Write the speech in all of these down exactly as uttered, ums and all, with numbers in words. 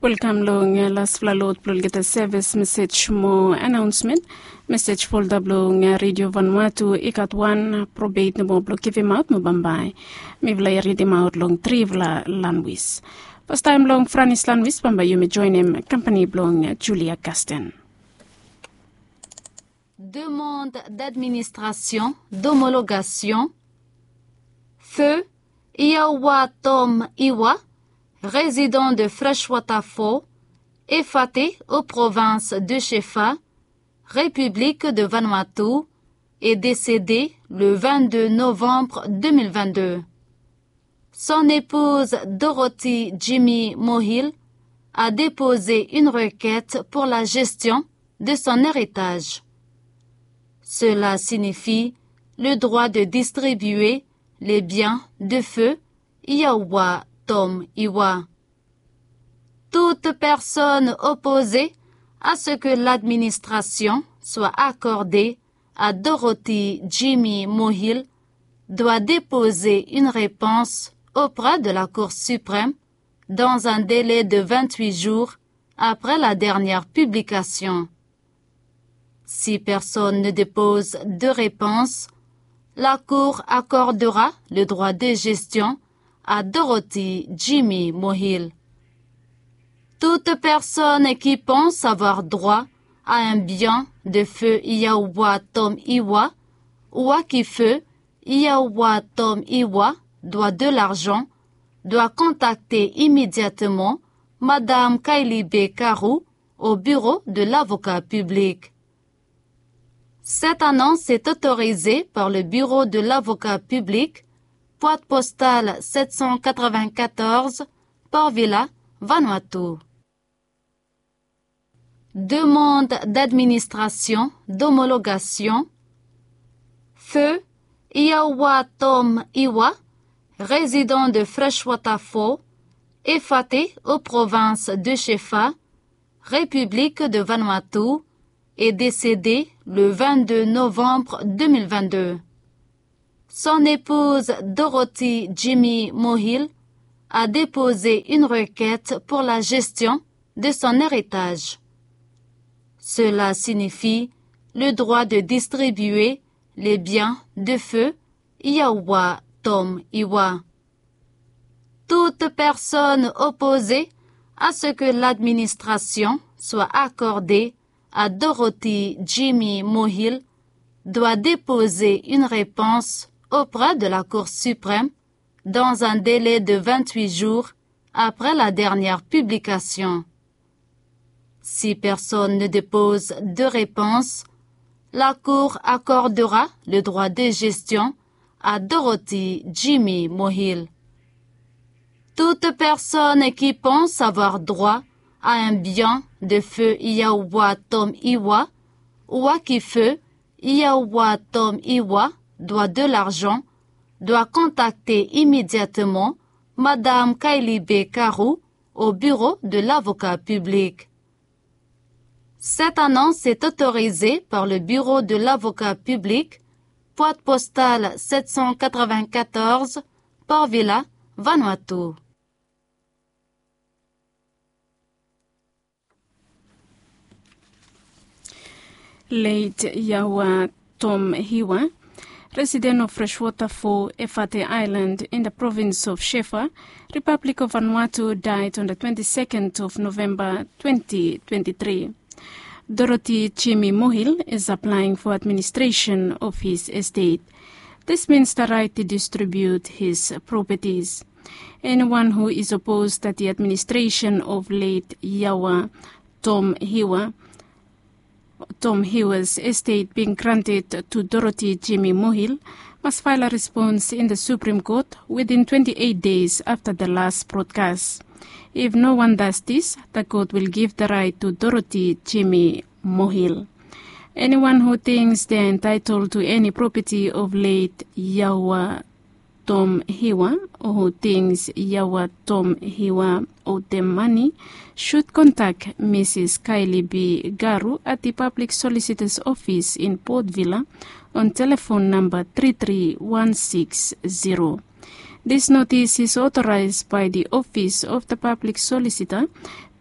Welkam long laspela lot blong olgeta sevis mesej mo anaonsmen. Mesej folda blong Redio Vanuatu i gat wan probeit nomo blong givimaot mo bambae mifala i ridimaot long trifala lanwis. Fastaem long Franis lanwis bambae yumi joenem kampani blong Julia Kasten. Demande d'administration d'homologation. Feu Iyawa Tom Iwa, résident de Freshwater Falls, Efate, aux provinces de Shefford, République de Vanuatu, est décédé le vingt-deux novembre deux mille vingt-deux. Son épouse Dorothy Jimmy Mohill a déposé une requête pour la gestion de son héritage. Cela signifie le droit de distribuer les biens de feu Iyawa Tom Iwa. Toute personne opposée à ce que l'administration soit accordée à Dorothy Jimmy Mohill doit déposer une réponse auprès de la Cour suprême dans un délai de vingt-huit jours après la dernière publication. Si personne ne dépose de réponse, la Cour accordera le droit de gestion à Dorothy Jimmy Mohill. Toute personne qui pense avoir droit à un bien de feu Iyawa Tom Iwa ou à qui feu Iyawa Tom Iwa doit de l'argent doit contacter immédiatement Madame Kylie B. Karou au bureau de l'avocat public. Cette annonce est autorisée par le bureau de l'avocat public, boîte postale sept cent quatre-vingt-quatorze, Port Vila, Vanuatu. Demande d'administration d'homologation. Feu Iyawa Tom Iwa, résident de Freshwater Falls, Efate, aux provinces de Shefford, République de Vanuatu, est décédé le vingt-deux novembre deux mille vingt-deux. Son épouse Dorothy Jimmy Mohill a déposé une requête pour la gestion de son héritage. Cela signifie le droit de distribuer les biens de feu Iyawa Tom Iwa. Toute personne opposée à ce que l'administration soit accordée à Dorothy Jimmy Mohill doit déposer une réponse auprès de la Cour suprême dans un délai de vingt-huit jours après la dernière publication. Si personne ne dépose de réponse, la Cour accordera le droit de gestion à Dorothy Jimmy Mohill. Toute personne qui pense avoir droit à un bien de feu Iyawa Tom Iwa ou à qui feu Iyawa Tom Iwa doit de l'argent doit contacter immédiatement Madame Kylie B. Karou au bureau de l'avocat public. Cette annonce est autorisée par le bureau de l'avocat public, boîte postale sept cent quatre-vingt-quatorze, Port Vila, Vanuatu. Late Yawa Tom Hiwa, resident of Freshwater Fall, Efate Island, in the province of Shefa, Republic of Vanuatu, died on the twenty-second of November twenty twenty-three. Dorothy Jimmy Mohil is applying for administration of his estate. This means the right to distribute his properties. Anyone who is opposed that the administration of late Yawa Tom Hiwa, Tom Hiwa's estate being granted to Dorothy Jimmy Mohil must file a response in the Supreme Court within twenty-eight days after the last broadcast. If no one does this, the court will give the right to Dorothy Jimmy Mohil. Anyone who thinks they are entitled to any property of late Yawa Tom Hiwa, or who thinks Yawa Tom Hiwa owed them money, should contact Missus Kylie B. Garu at the Public Solicitor's Office in Port Vila on telephone number three three one six zero. This notice is authorized by the Office of the Public Solicitor,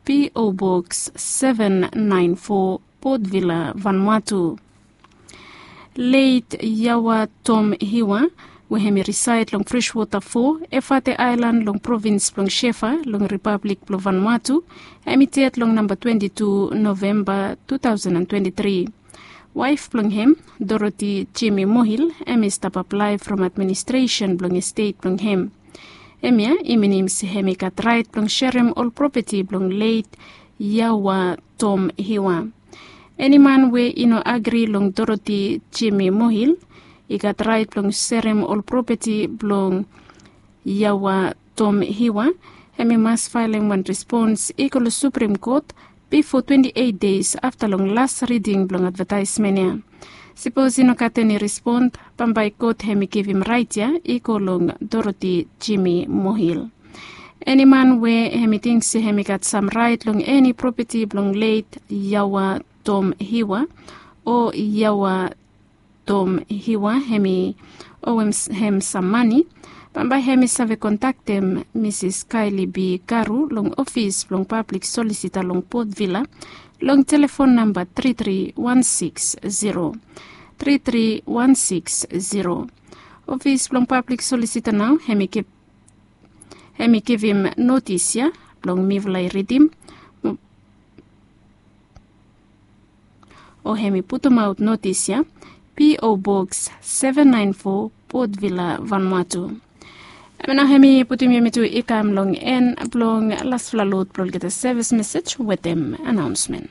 P O Box seven nine four, Port Vila, Vanuatu. Leit Yawa Tom Hiwa, we hem i risaed long Freshwater four, Efate Aelan, long provins blong Shefa, long Ripablik blong Vanuatu, hem i ded long namba twenti tu Novemba two thousand and twenti tri. Waef blong hem, Dorothy Jimmy Mohil, hem i stap aplae from administresen blong estet blong hem. Hemia i minim se hem i gat raet blong serem ol propeti blong leit Yawa Tom Hiwa. Eni man we i no agri long Dorothy Jimmy Mohil i gat raet blong serem ol propeti blong Yawa Tom Hiwa, hem i mas faelem wan respons i go long Suprem Kot bifo twenti eit deis afta long las riding blong advataesmen ya. Sipos i no gat eni respon, bambae kot hem i givim raet ya i go long Dorothy Jimmy Mohil. Eni man we hem i ting se hem i gat sam raet long eni propeti blong leit Yawa Tom Hiwa o Yawa Tom Hiwa hem i owem hem sam mani, bambae hem i save kontaktem Misis Kaeli B Garu long ofis blong pablik solisita long Port Vila long telefon namba tri tri wan siks zero, tri tri wan siks zero. Ofis blong pablik solisita nao hem i givim notis ya blong mifala i ridim, o hem i putumaot notis ya, P O Box seven nine four, Port Vila, Vanuatu. Hem nao hem i putum yumi tu i kam long en blong lasfala lod blong olgeta sevis mesej wetem anaonsmen.